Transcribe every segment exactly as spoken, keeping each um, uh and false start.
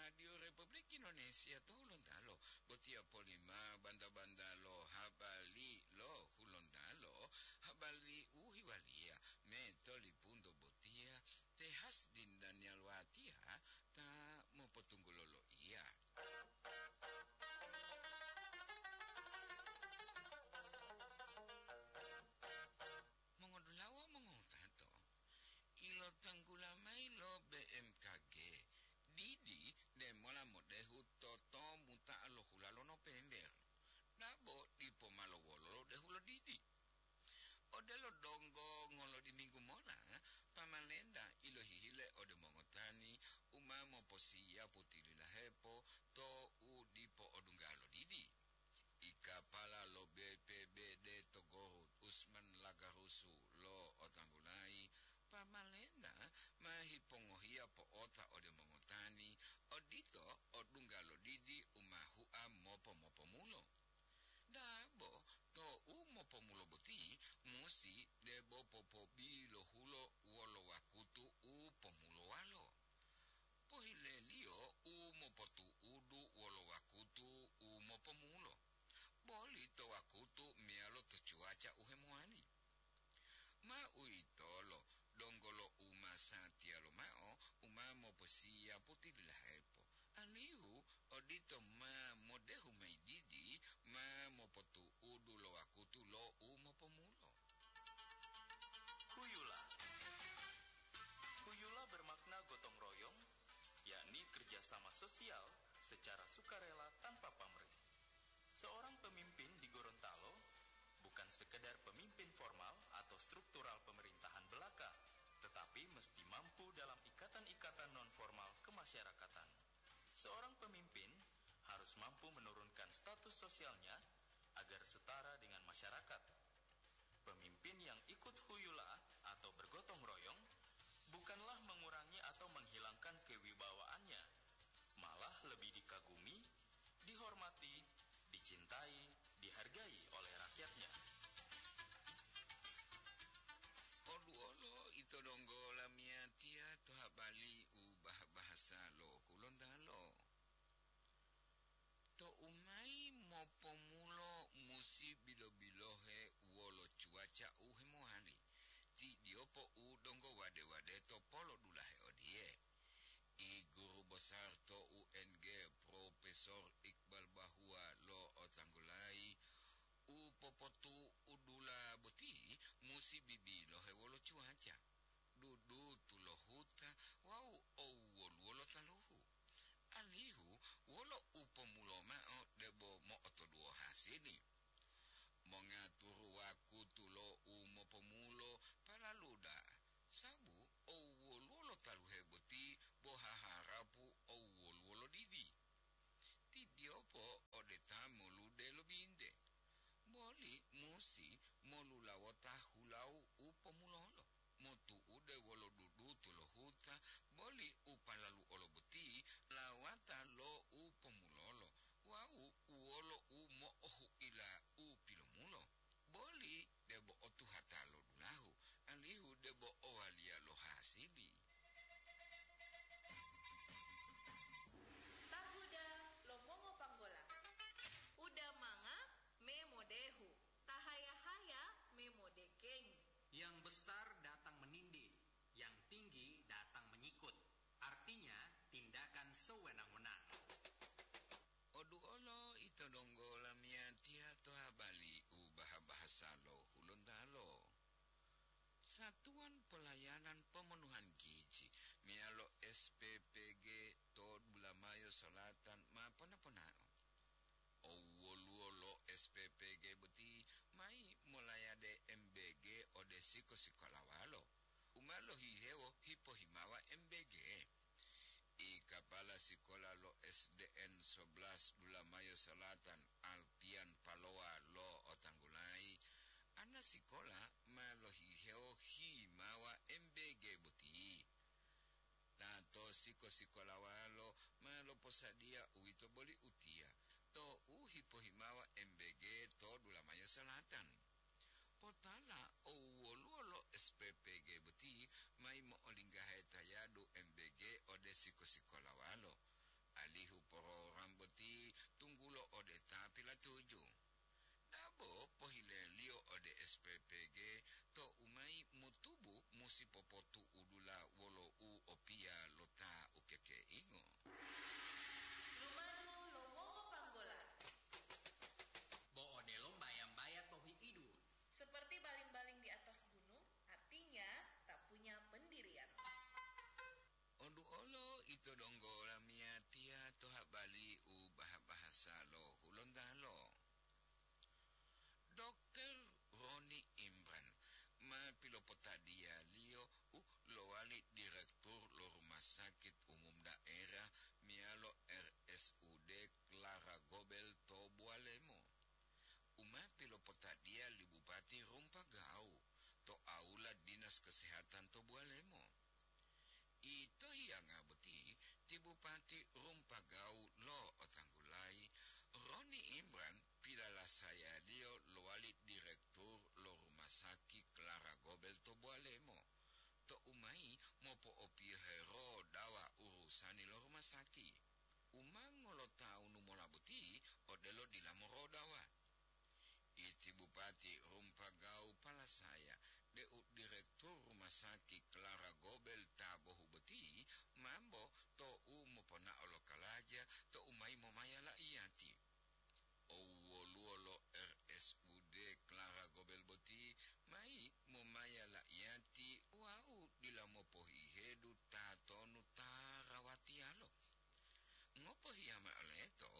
Radio Republik Indonesia to Hulontalo, botiya polima banta-banta lo habari lo Hulontalo, habari u hiwaliya me tolipunto botiya, te Hasdin Daniel Watiya ta mopotunggulo loiya. Mongodulawa mongowutato, ilotanggula mayi lo B M K G, didi demola modehu to tomuta'a lo hula lo Nopember, dabo dipo ma lowolo lo dehu lo didi. Odelo donggo ngolodiminggu mola, pamalenta ilohihile ode mongotani u ma moposiyapu tililahepo to u dipo odungga lo didi. I kapala lo B P B D to Gorut, Usman Lagarusu lo'otanggulayi, pamalenta ma hipongohiya po'ota ode mongotani, odito odungga lo didi u ma hua mopo-mopomulo. Dabo to u mopomulo boti musi debo popobilohulo wolo wakutu u pomulowalo. Pohileliyo u mopotu'udu wolo wakutu u mopomulo, boli to wakutu meyalo to cuaca u hemowali. Ma uwitolo, donggo lo umasatiya lomao u ma moposiyapu tililahepo, alihu odito ma modehu mayi didi ma mopotu'udu lo wakutu lo u mopomulo. Huyula. Huyula bermakna gotong royong, yakni kerjasama sosial secara sukarela tanpa pamrih. Seorang pemimpin di Gorontalo bukan sekedar pemimpin formal atau struktural pemerintahan belaka, tetapi mesti mampu dalam ikatan-ikatan non-formal kemasyarakatan. Seorang pemimpin harus mampu menurunkan status sosialnya agar setara dengan masyarakat. Pemimpin yang ikut huyula atau bergotong royong bukanlah mengurangi atau menghilangkan kewibawaannya, malah lebih dikagumi, dihormati, dicintai, dihargai oleh rakyatnya. Oduolo ito donggo lamiyatiya to habari u bah-bahasa lo Hulontalo. Tou mayi mopomulo musi bilo-bilohe wolo cuaca u hemowali, ti diyopo u donggo wade-wade to polodulahe odiye. I guru besar to U N G, Profesor Iqbal Bahua lo'otanggulayi, u popotu'udula boti musi bibilohe wolo cuaca, dudutu lo huta wawu owwoluwo lo taluhu. Alihu wolo u pomulo mao debo mo'otoduwo hasili. Mongaturu wakutu lo u mopomulo palalu da'a, sabu owwoluwo lo taluhe boti bo haharapu owwoluwo lo didi. Ti diyopo ode ta molude lo binte, boli musi molulawota hulau u pomulolo, motu'ude wolo dudutu lo huta, boli u palalu olo boti lawata lo u pomulolo wawu wolo u mo'ohu'ila u pilomulo. Boli debo otuhata lo dulahu, alihu debo owaliya lo hasili. Tahuda lo mongopanggola. Uda manga me modehu, tahaya-haya me modekengi. Yang besar datang menindih, yang tinggi datang menyikut. Artinya, tindakan sewenang-wenang. Oduolo ito donggo lamiyatiya to habari u baha-bahasa lo Hulontalo. Satuan Pelayanan Pemenuhan Gizi meyalo S P P G to Bulamayo Selatan ma pona-ponao. Owwoluwo lo S P P G boti mayi molayade M B G ode siko-sikolawalo u ma lohihewo hipohimawa M B G. I kapala sikola lo S D N sebelas Dulamayo Selatan, Alpian Palowa lo'otanggulayi, ana sikola ma lohihewo himawa M B G boti. Ta to siko-sikolawalo ma loposadiya uwito boli utiya to u hipohimawa M B G to Dulamayo Selatan. Potala owwoluwo lo S P P G boti mayi mo'olinggahe tayadu M B G ode siko-sikolawalo. sani lo rumasaki. U ma ngolotawunu mola boti odelo dila morodawa. Iti Bupati Rumpagau palasaya deu direktur rumasaki Clara Gobel ta bohu boti mambo to'u moponao lo kalaja to'u mayi momaya la'iyati. Owoluwo lo R S U D Clara Gobel boti mayi momaya la'iyati wawu dila mopohihedu tatonu ta rawatiyalo. Ngopohiya mao leto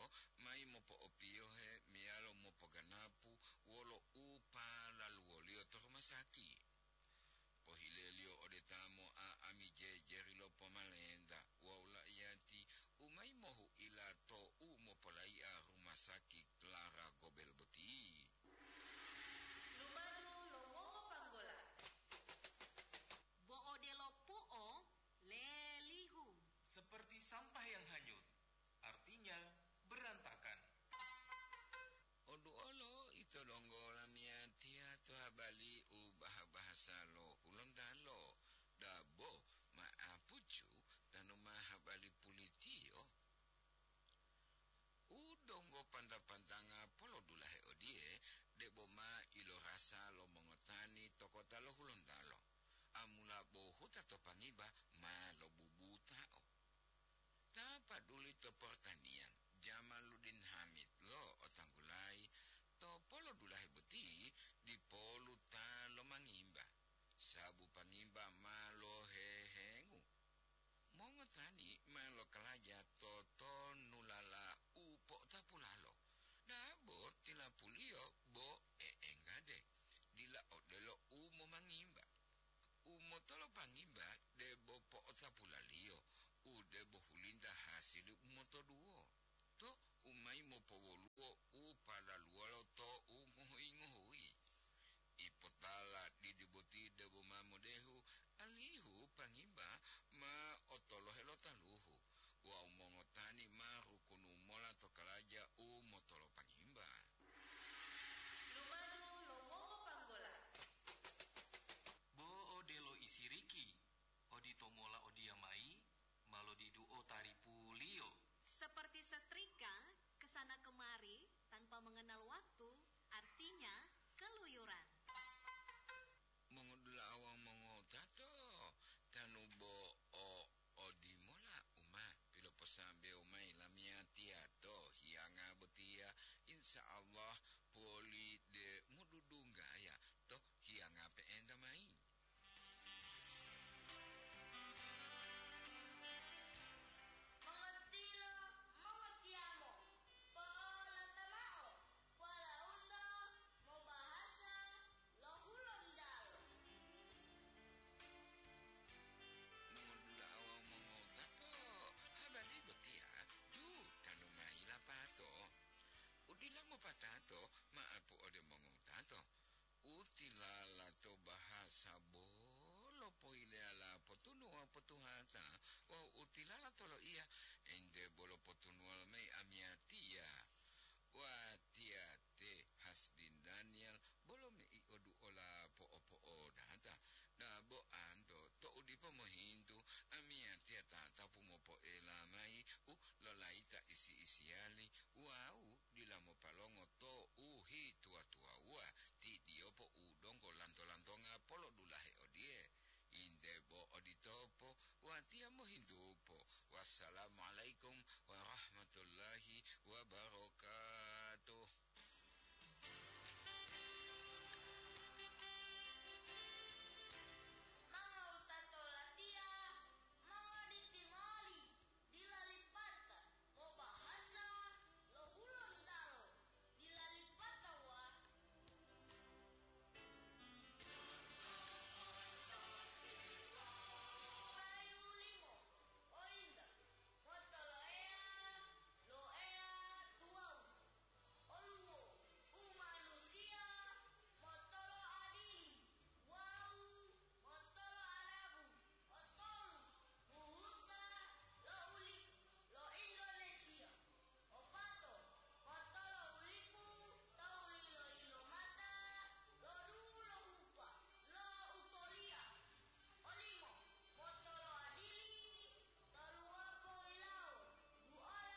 mayi mopo'opiyohe meyalo mopoganapu wolo u palaluwoliyo to rumasaki. Pohileliyo ode ta mo'a'ami jejeri lo pomalenta wawu la'iyati u mayi mohu'ila to'u mopolai'a rumasaki Clara Gobel boti. Lumadu lo mongopanggola. Bo odelo pu'o lelihu. Seperti sampah yang hanyut, artinya berantakan. Oduolo ito donggo lamiyatiya to habali u baha-bahasa lo Hulontalo, dabo ma'apucu tanu ma habali pulitiyo. U donggo panta-pantanga polodulahe odiye, debo ma ilorasa lo mongotani to kota lo Hulontalo, amula bo huta to Pangiba ma lobubutao. Ta paduli to portaniyan, Jamaluddin Hamid lo otanggulayi to polodulahe boti dipolu ta lomangimba, sabu Pangiba ma lohehengu. Mongotani ma lokalaja to tonulala u po'otapulalo, dabo tilapuliyo bo e'engade, dila odelo u momangimba. U motolopangimba debo po'otapulaliyo, u debo hulinta hasili u motoduwo, to u mayi mopowoluwo u palaluwalo to u ngohuyi-ngohuyi. Ipotala didi boti debo ma modehu, alihu pangimba ma otolohe lo taluhu wawu mongotani ma rukunu mola to kalaja u motolopangimba. Lumadu lo mongopanggola. Bo odelo isiriki, odito mola odiyamayi, ma lodiduo taripuliyo. Seperti setrika, ke sana kemari tanpa mengenal waktu, artinya keluyuran. Mongodula'a wawu mongotato, tanu bo o odimola u ma piloposambewo mayi lamiyatiya to hiyanga botiya, insya Allah poli de modudunggaya to hiyanga pe'enta mayi. Mongotilo, mongotiyamo, po'olata mao, walaundo mobahasa lo Hulontalo. Mongodula'a wawu mongotato, habari botiya ju tanu mayi lapato. U dila mopatato, ma'apu ode mongotato. U tilala to bahasa bolo pohileyala potunuwa potuhata wawu u tilala to loiya ente bolo potunuwa mayi amiyatiya. Watiya te Hasbin Daniel bolo mei'odu'ola po'opo'odata, dabo anto to'u dipo mohintu amiyatiya tatapu mopo'ela mayi u lolayita isi-isiyali wawu dila mopalongo to u hituwa-tuwawuwa, ti diyopo u donggo lanto-lantonga polodulahe odiye, "Inde bo oditopo, watiya mohintupo. Wassalamualaikum